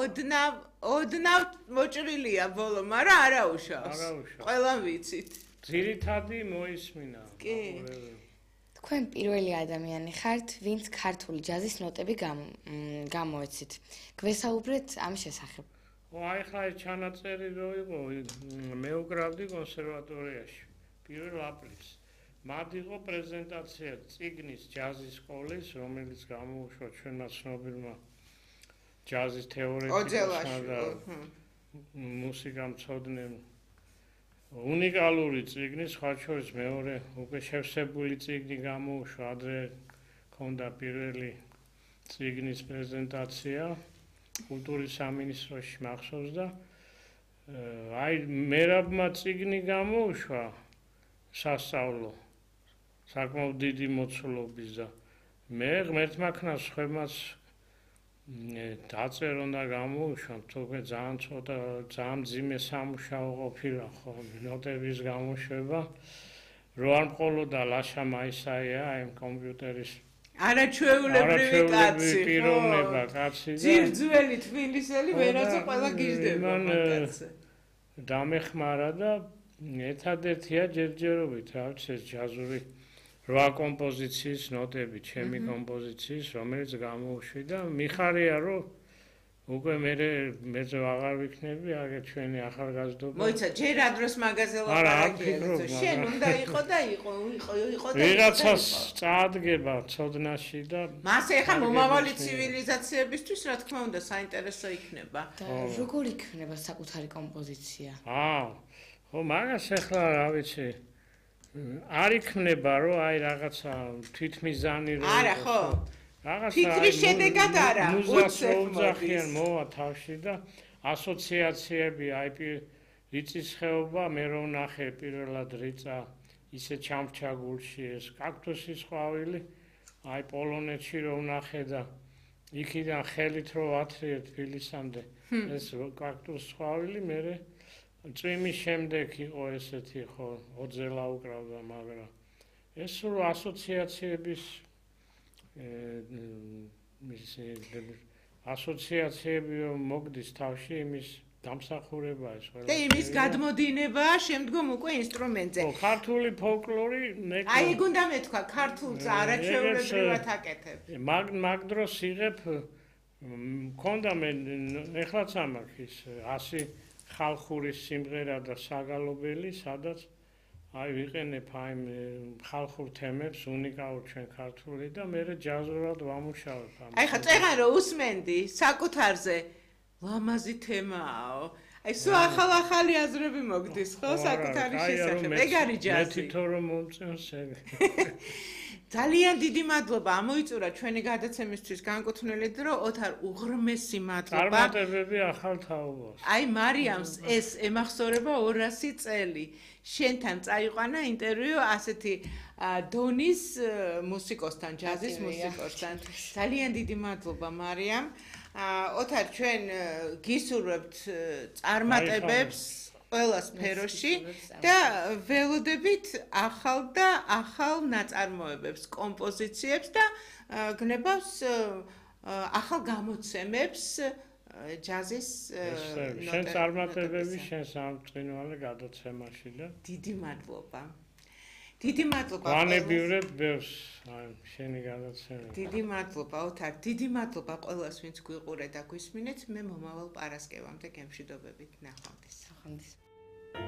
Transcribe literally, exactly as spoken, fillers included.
ოდნავ ოდნავ მოჭრილია ბოლო, მაგრამ არა უშავს. ყველამ ვიცით. ძირითადი მოისმინა. კი. თქვენ პირველი ადამიანი ხართ, ვინც ქართული ჯაზის ნოტები გამოეცით. გვესაუბრეთ ამ შესახებ. ო აი ხა ეს ჩანაწერი რო იყო, მე უკრავდი კონსერვატორიაში პირველ აპრილს. მათ იყო პრეზენტაცია წიგნის ჯაზის სკოლის, რომელიც გამოუშვა ჩვენმა ცნობილმა ჯაზის თეორეტიკოსმა და მუსიკამცოდნემ. უნიკალური წიგნი, სხვა შორის მეორე უკვე შევსებული წიგნი გამოუშვა, ადრე ქონდა პირველი წიგნის პრეზენტაცია კულტურის სამინისტროში მახსოვს და აი მერაბმა წიგნი გამოუშვა სასწავლო საკმაოდ დიდი მოცულობის და მე ღმერთმა ქნას ხვემაც დაწერონ და გამოუშვა, თუმცა ძალიან ცოტა ძალიან მძიმე სამუშაო ყოფილა ხო ნოტების გამოშვება, რო არ მყოლოდა ლაშა მაისაია ამ კომპიუტერის არაჩვეულებრივი კაცი, პიროვნება კაცი და ძირძველი თბილისელი ვერაცა ყველა გიждდება მაგაცზე. დამეხმარა და ერთადერთია ჯერჯერობით რა ვიცი ეს ჯაზური რვა კომპოზიციის ნოტები, ჩემი კომპოზიციის, რომელიც გამოუშვი და მიხარია რომ უკვე მე მეზე აღარ ვიქნები, აგე ჩვენი ახალგაზრდობა. მოიცა ჯერ ადროს მაღაზია ლაპარაკია, შენ უნდა იყო და იყო, იყო, იყო და ვიღაცას წაადგება ცოდნაში და მას ეხა მომავალი ცივილიზაციებისთვის რა თქმა უნდა საინტერესო იქნება. როგორ იქნება საკუთარი კომპოზიცია? აა, ხო, მაგას ეხლა რა ვიცი არ იქნება რომ აი რაღაცა თვითმიზანი რომ არა ხო რაღაცა ფიქრის შედეგად არა უცებ მოვა თავში და ასოციაციები აი რიწის ხეობა მე რომ ნახე პირველად რიწა ისე ჩამრჩა გულში ეს კაქტუსის ყვავილი აი პოლონეთში რომ ნახე და იქიდან ხელით რო ათრიე თბილისამდე ეს კაქტუსის ყვავილი მე წვიმის შემდეგ იყო ესეთი ხო ოძელა უკრავდა მაგრამ ეს სულ ასოციაციების მისი ასოციაციები მოგდის თავში იმის დამსახურება ეს ყველა და იმის გადმოდინება შემდგომ უკვე ინსტრუმენტზე ხო ქართული ფოლკლორი მე აი ეგ უნდა მეთქვა ქართულს არაჩვეულებრივად აკეთებ მაგ მაგ დროს იღებ მქონდა მე ეხლაც ამაქვს ის ასი ხალხური სიმღერა და საგალობელი, სადაც აი ვიყენებ აი ხალხურ თემებს, უნიკალურ ჩვენ ქართული და მე ჯაზურად ვამუშავებ ამას. აი ხა წეგან რო უსმენდი საკუთარზე ლამაზი თემაო. აი სულ ახალ-ახალი აზრები მოგდის ხო საკუთარი შესახებ. ეგ არის ჯაზი. მე თვითონ რომ მომწონს ეგ. ძალიან დიდი მადლობა ამოიწურა ჩვენი გადაცემისთვის განკუთვნილი დრო ოთარ უღრმესი მადლობა წარმატებები ახალ თაობას აი მარიამს ეს ემახსოვრება ორასი წელი შენთან წაიყვანა ინტერვიუ ასეთი დონის მუსიკოსთან ჯაზის მუსიკოსთან ძალიან დიდი მადლობა მარიამ ოთარ ჩვენ გისურვებთ წარმატებებს ყველა სფეროში და ველოდებით ახალ და ახალ ნაწარმოებებს, კომპოზიციებს და გნებავს ახალ გამოცემებს ჯაზის ნოტებში. შენ წარმატებები შენ სამწყინვალე გადაცემაში და დიდი მადლობა. დიდი მადლობა. ვანებივრებ ბევრს აი შენი გადაცემა. დიდი მადლობა ოთარ, დიდი მადლობა ყველას ვინც გვიყურეთ და გვისმინეთ. მე მომავალ პარასკევამდე გემშვიდობებით ნახვამდის. ნახვამდის.